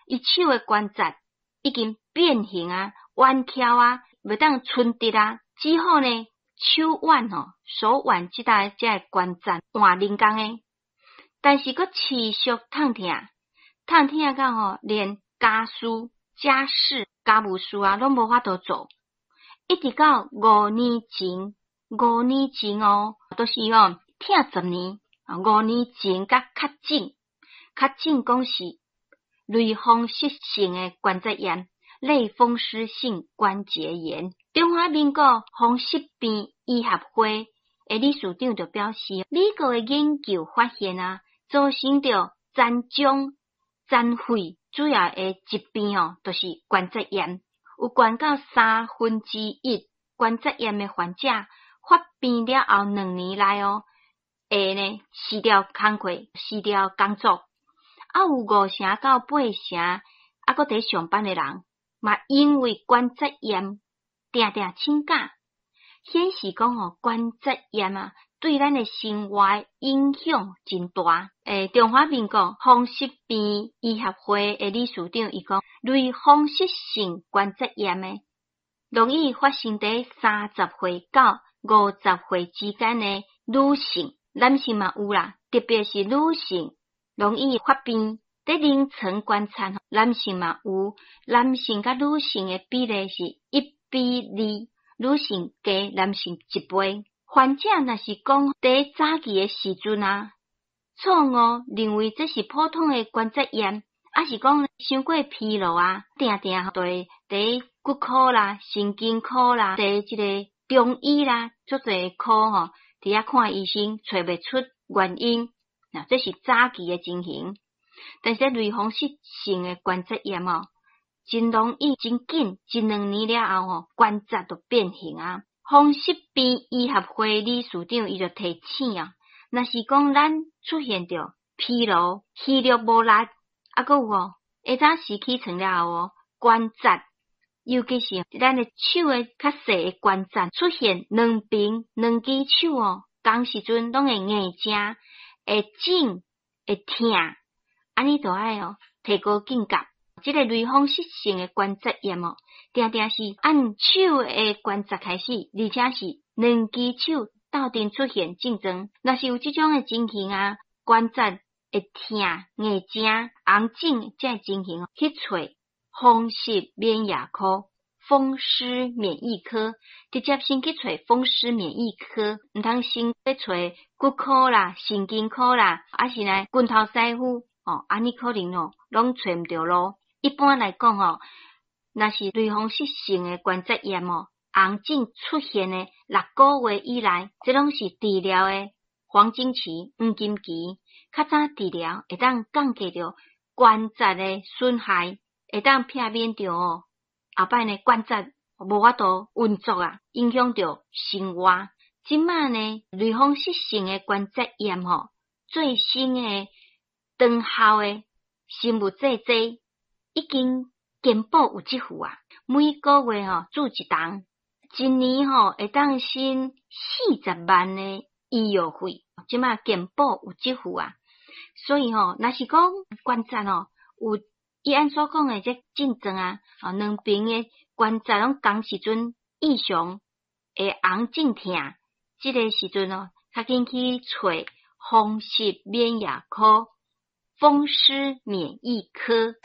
伊手的關節已經變形啊、彎翹啊，袂當伸直啊，只好呢手腕吼、手腕這搭這个關節換人工的，但是閣持續痛疼，痛疼到吼連家事、家事、家務事啊，攏無法度做。一直到五年前，五年前哦，都是吼疼10年，五年前才確診，確診講是類風濕性的關節炎，類風濕性關節炎。中華民國風濕病醫學會的理事長就表示，美國的研究發現啊，造成著殘障、殘廢主要的疾病哦，就是關節炎，有懸到1/3關節炎的患者發病了後2年內哦，會呢辭掉工課、辭掉工作，啊有5成到8成啊閣佇上班的人，嘛因為關節炎定定請假，顯示講吼關節炎啊，對咱的生活影響真大。中華民國風濕病醫學會的理事長伊講，類風濕性關節炎的，容易發生佇30歲到50歲之間的女性，男性嘛有啦，特別是女性容易發病。佇臨床觀察，男性嘛有，男性佮女性的比例是1比2，女性加男性一倍。患者若是講佇早期的時陣啊，錯誤認為這是普通的關節炎，抑是講傷過疲勞啊，定定就會佇骨科啦、神經科啦、佇這个中醫啦，足濟科吼，佇遐看醫生，揣袂出原因。那這是早期的情形，但是類風濕性的關節炎哦，真容易真緊，一兩年了後吼，關節就變形啊。風濕病醫學會理事長伊就提醒啊，若是講咱出現著疲勞、肌肉無力，啊，閣有哦，下早時起床了後哦，關節，尤其是咱的手的較細的關節出現兩邊兩支手哦，仝時陣攏會硬正、會腫、會疼，按呢就愛哦提高警覺。這个類風濕性的關節炎哦，定定是按手的關節開始，而且是兩支手鬥陣出現症狀。若是有這種的情形啊，關節會疼、硬正、紅腫這个情形，去揣風濕免疫科、風濕免疫科，直接先去揣風濕免疫科，毋通先去揣骨科啦、神經科啦，抑是呢骨頭師傅哦，按呢可能哦，攏揣毋著路。一般來講吼，若是類風濕性的關節炎哦，紅腫出現的6個月以內，這攏是治療的黃金期、黃金期。較早治療會當降低著關節的損害，會當避免著哦，後擺呢關節無法度運作啊，影響著生活。這馬呢類風濕性的關節炎吼，最新的長效的生物製劑已經健保有給付啊，每個月吼注一筒，一年吼會當省40萬的醫藥費。這馬健保有給付啊，所以吼，若是講關節吼有伊按所講的這症狀啊，兩邊的關節攏仝時陣異常會紅腫疼，這个時陣哦，較緊去揣風濕免疫科、風濕免疫科。